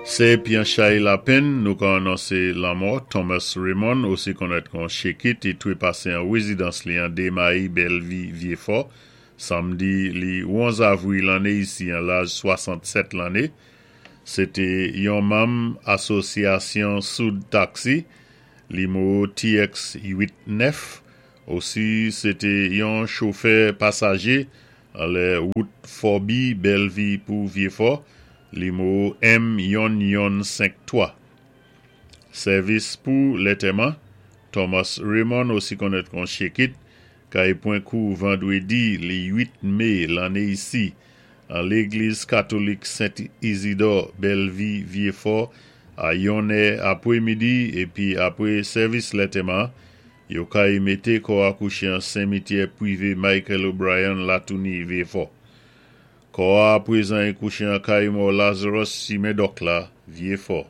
Sé épi an chay lapenn nou ka anonsé lanmò Thomas Raymond, osi konnèt kon Shekit, i twé pasé an wézidans li an Démayi, Bèlvi, Vyéfò, samdi li 11 avwi lanné isi an laj 67 lanné. Sé té yon manm Asosyasyon Soud Taksi, nimewo TX 8 9. Osi sé té yon chofè pasajé anlè wout Fòbi, Bèlvi pou Vyéfò, nimewo M yonn yonn 5 3. Sèvis pou lantèman, Thomas Raymond, osi konnèt kon Shekit, kay pwan kou vandwédi li 8 mé lanné isi an légliz katolik Sent Izidò, Bèlvi, Vyéfò, a 1 è apwémidi, épi apwé sèvis lantèman, yo kay mété kò a kouché an simityè pwivé Michael O'Brien, Latouni, Vyéfò. Kò a apwézan i kouché an kay mò Lazarus Chimen Dòk la, Vyéfò.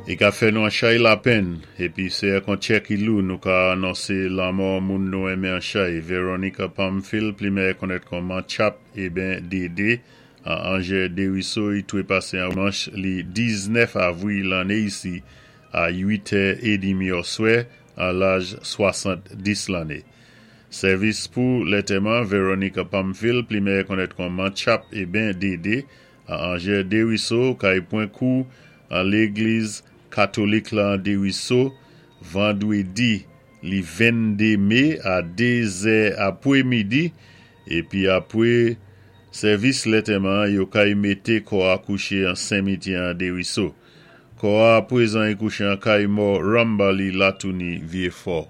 I ka fè nou an chay lapenn, épi sé ak an tchè ki lou nou ka anonsé lanmò moun nou enmen an chay, Veronica Pamphile, pli mèyè konnèt kon Manchap eben Dédé, an Anjè Dériso, i twé pasé an dimanch li 19 avwi lanné isi a 8 è édmi òswè an laj 70 lanné. Sèvis pou lantèman, Veronica Pamphile, pli mèyè konnèt kon Manchap eben Dédé, an Anjè Dériso, kay pwan kou an légliz katolik la an Dériso, vandwédi li 22 mé a 2 zè apwémidi, épi apwé sèvis lantèman, yo kay mété kò a kouché an simityè an Dériso. Kò a apwézan i kouché an kay mò Rambali, Latouni, Vyéfò.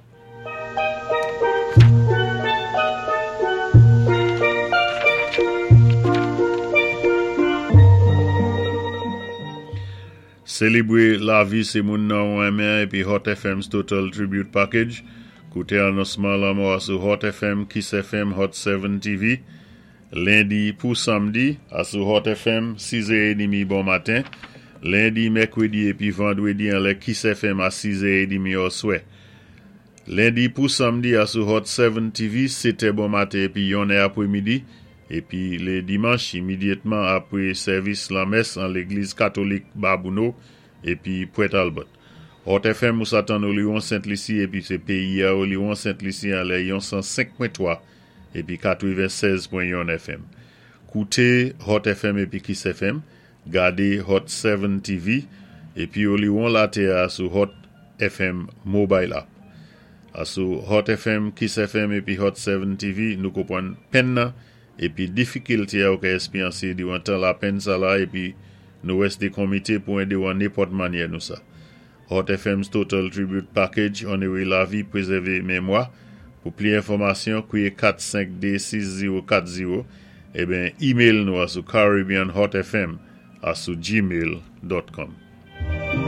Sélébwé lavi sé moun nan ou enmen épi Hot FM's Total Tribute Package. Kouté anonsman lanmò a sou Hot FM, Kiss FM, Hot 7 TV. Lendi pou samdi, a sou Hot FM, 6h30 bon maten. Lendi, mèkwédi épi vandwédi an lè Kiss FM a 6h30 òswè. Lendi pou samdi a sou Hot 7 TV, 7 bon maten épi 1 è apwémidi. Épi lé dimanch, imédyatman apwé sèvis lanmès an légliz katolik Babouno épi Port Albert. Hot FM ou sa tann Oliwon Sent Lisi épi sé péyi a Oliwon Sent Lisi an lè yon 105.3 épi 96.1 FM. Kouté Hot FM épi Kiss FM, gadé Hot 7 TV épi Oliwon latè a sou Hot FM Mobile App. A sou Hot FM, Kiss FM épi Hot 7 TV, nou konpwann penn nan épi difikilté a ou ka èspéryansé diwan tan lapenn sa la épi nou wèsté konmité pou édé ou an nenpòt mannyè nou sa. Hot FM's Total Tribute Package, onoré lavi, pwézèvé mémwa. Pou pli enfòmasyon, kwiyé 452 6040 eben email nou a sou caribbeanhotfm a sou gmail.com.